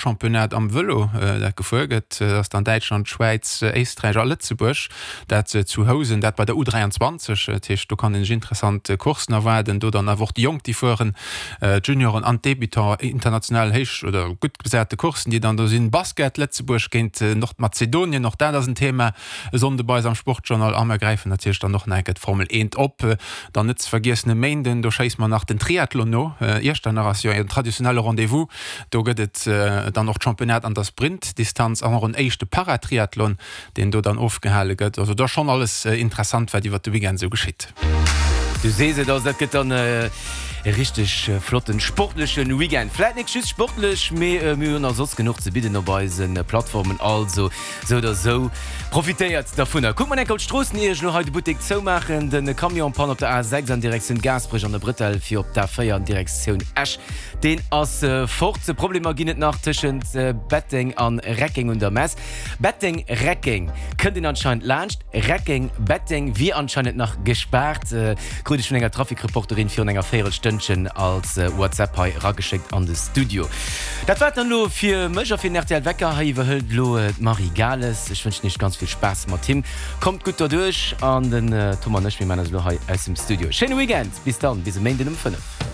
Championnat am Vëlo, dat gefuer gëtt. Dat ass dann Däitschland, Schwäiz, Éisträich a Lëtzebuerg. Dat zu Housen, dat bei der U23. Dat heescht, do kann een sech interessant Courssen erwaarden. Do dann awer och déi Jonk, déi fueren, d'Junioren an d'Débutants. International héich oder gutt besate Courssen, déi dann do sinn. Basket, Lëtzebuerg géint Nordmazedonien, och dat ass en Thema e Sonnde bei eis am Sportjournal. A mer gräifen natierlech dann och nach eng Kéier d'Formel 1 op. Dann net ze vergiessen e Méinden, do schéisse mer nach den Triathlon no. Iechternach ass jo en traditionelle Rendez-vous. Do gëtt et dann och d'Championnat an der Sprintdistanz an och en éischte Paratriathlon, deen do dann ofgehale gëtt. Also do ass schonn alles interessant, wat iwwert de Weekend esou geschitt. Du sees et, also dat gëtt dann e richteg flotten sportlechen Weekend. Vläit nik just sportlech, mee mir hunn och soss genuch ze bidden op eise Plattformen. Also sou oder sou, profitéiert dervunner. Kuckt mer enk op d'Stroossen ier ech elo hei de Buttek zoumaachen. Den Camion Panne op der A6 an Direktioun Gaasperech an der Brëtell fir op d'A4 an Direktioun Esch. Deen ass fort. Problemer ginn et nach tëschent Betteng an Reckeng un der Mess. Betteng, Reckeng kënnt een anscheinend laanscht. Reckeng, Betteng wier anscheinend nach gespaart, krut ech vun enger Trafikreporterin virun enger Véierelstënnchen als WhatsApp hei erageschéckt an de Studio. Dat war et dann elo fir mech a fir den rtl Wecker. Hei iwwerhëlt elo d'Marie Gales. Ech wënschen iech ganz vill Spaass mat him. Kommt gutt derduerch an den Tom an ech, mir maachen eis elo hei aus dem Studio. Schéine Weekend, bis dann, bis e Méinden um 5.